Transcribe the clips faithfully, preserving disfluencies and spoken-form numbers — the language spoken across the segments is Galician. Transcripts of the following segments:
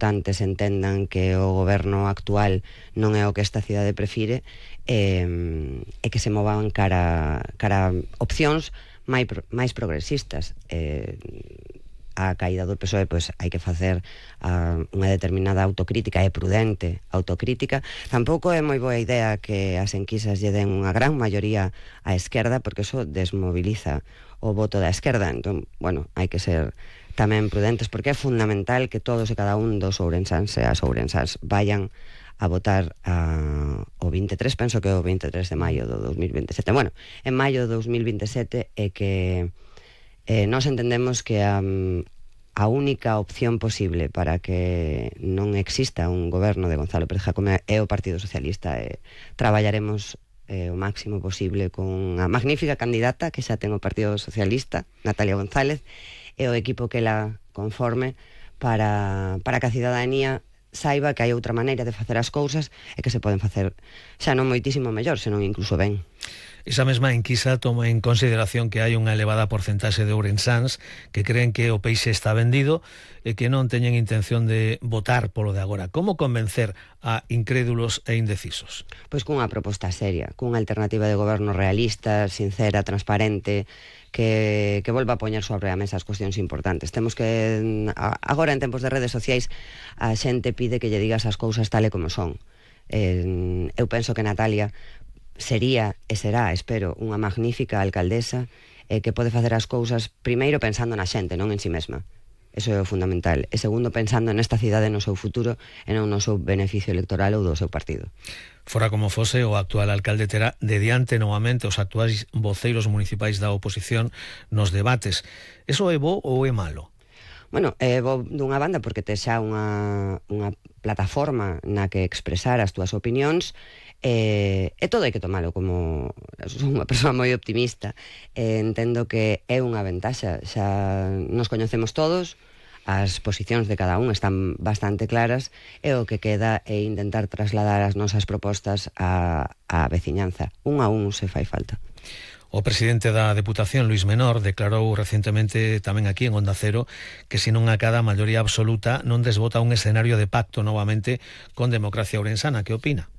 votantes entendan que o goberno actual non é o que esta cidade prefire, e, e que se movan cara, cara opcións máis, máis progresistas. E, a caída do P S O E, pois hai que facer uh, unha determinada autocrítica, e prudente autocrítica. Tampouco é moi boa idea que as enquisas lle den unha gran maioría á esquerda, porque eso desmoviliza o voto da esquerda. Entón, bueno, hai que ser tamén prudentes, porque é fundamental que todos e cada un dos ourensáns e as ourensáns vayan a votar uh, o veintitrés, penso que é o veintitrés de maio do dos mil veintisiete. Bueno, en maio do dos mil veintisiete é que Eh, nós entendemos que a, a única opción posible para que non exista un goberno de Gonzalo Pérez Jácome é o Partido Socialista. E traballaremos eh, o máximo posible con a magnífica candidata que xa ten o Partido Socialista, Natalia González, e o equipo que la conforme para, para que a cidadanía saiba que hai outra maneira de facer as cousas e que se poden facer xa non moitísimo mellor, senón incluso ben. Esa mesma enquisa toma en consideración que hai unha elevada porcentaxe de ourensáns que creen que o peixe está vendido e que non teñen intención de votar polo de agora. Como convencer a incrédulos e indecisos? Pois cunha proposta seria, cunha alternativa de goberno realista, sincera, transparente, que, que volva a poñer sobre a mesa as cuestións importantes. Temos que, agora en tempos de redes sociais, a xente pide que lle digas as cousas tal e como son. Eh, eu penso que Natalia sería e será, espero, unha magnífica alcaldesa eh, que pode facer as cousas primeiro pensando na xente, non en si mesma. Eso é o fundamental. E segundo, pensando nesta cidade, no seu futuro e non no seu beneficio electoral ou do seu partido. Fora como fose, o actual alcalde terá de diante novamente os actuais voceiros municipais da oposición nos debates. Eso é bo ou é malo? Bueno, é bo dunha banda porque te xa unha, unha plataforma na que expresar as túas opinións. E, e todo hai que tomalo como son unha persoa moi optimista, e entendo que é unha ventaxa. Xa nos coñecemos todos, as posicións de cada un están bastante claras, e o que queda é intentar trasladar as nosas propostas á, á veciñanza, un a un se fai falta. O presidente da Deputación, Luís Menor, declarou recentemente tamén aquí en Onda Cero que se non acada a maioría absoluta non desbota un escenario de pacto novamente con Democracia Ourensana. Que opina?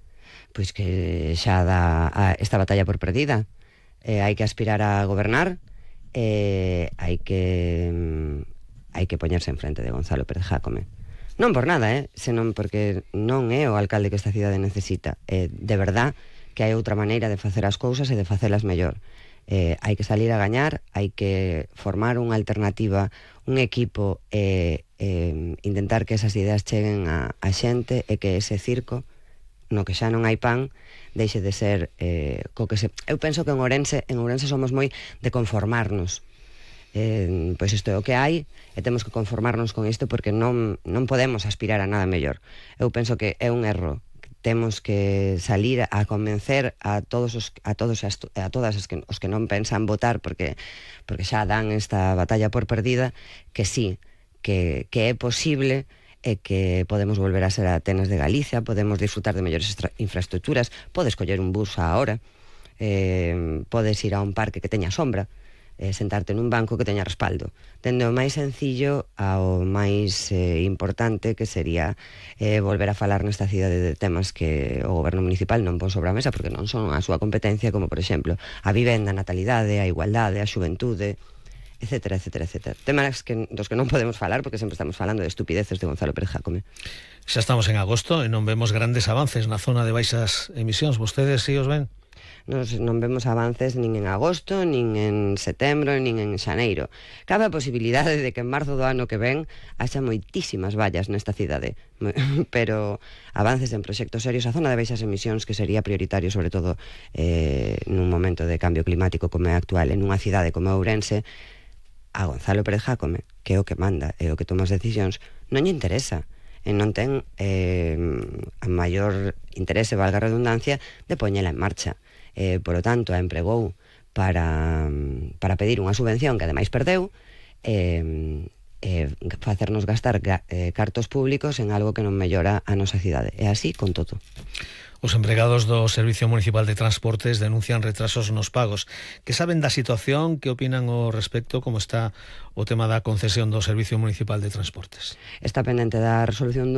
Pois que xa dá a esta batalla por perdida. Eh, hai que aspirar a gobernar, e eh, hai que mm, hai que poñerse en frente de Gonzalo Pérez Jácome. Non por nada, eh, senón porque non é o alcalde que esta cidade necesita. Eh, de verdad que hai outra maneira de facer as cousas e de facelas mellor. Eh, hai que salir a gañar, hai que formar unha alternativa, un equipo, e eh, eh, intentar que esas ideas cheguen a, a xente, e que ese circo no que xa non hai pan deixe de ser eh, co que se... Eu penso que en Ourense, en Ourense somos moi de conformarnos. Eh, pois isto é o que hai e temos que conformarnos con isto, porque non, non podemos aspirar a nada mellor. Eu penso que é un erro. Temos que salir a convencer a todos os, a todos as, a todas as que, os que non pensan votar porque, porque xa dan esta batalla por perdida, que sí, que, que é posible, e que podemos volver a ser a Atenas de Galicia, podemos disfrutar de mellores infraestructuras, podes coller un bus a hora, eh, podes ir a un parque que teña sombra, eh, sentarte nun banco que teña respaldo, dende o máis sencillo ao máis eh, importante, que sería eh, volver a falar nesta cidade de temas que o goberno municipal non pon sobre a mesa porque non son a súa competencia, como por exemplo a vivenda, a natalidade, a igualdade, a xuventude, etcétera, etcétera, etcétera. Temas que, dos que non podemos falar porque sempre estamos falando de estupideces de Gonzalo Pérez Jácome. Xa estamos en agosto e non vemos grandes avances na zona de baixas emisións. Vostedes si os ven? Nos non vemos avances nin en agosto, nin en setembro, nin en xaneiro. Cabe a posibilidade de que en marzo do ano que ven haxa moitísimas vallas nesta cidade, pero avances en proxectos serios. A zona de baixas emisións, que sería prioritario sobre todo eh, nun momento de cambio climático como é actual, en unha cidade como Ourense, a Gonzalo Pérez Jácome, que é o que manda e o que toma as decisións, non lle interesa. E non ten eh, a maior interese, valga a redundancia, de poñela en marcha. Eh, por lo tanto, a empregou para, para pedir unha subvención que ademais perdeu, e eh, eh, facernos gastar ga, eh, cartos públicos en algo que non mellora a nosa cidade. E así con todo. Os empregados do Servicio Municipal de Transportes denuncian retrasos nos pagos. Que saben da situación? Que opinan ao respecto? Como está o tema da concesión do Servicio Municipal de Transportes? Está pendente da resolución do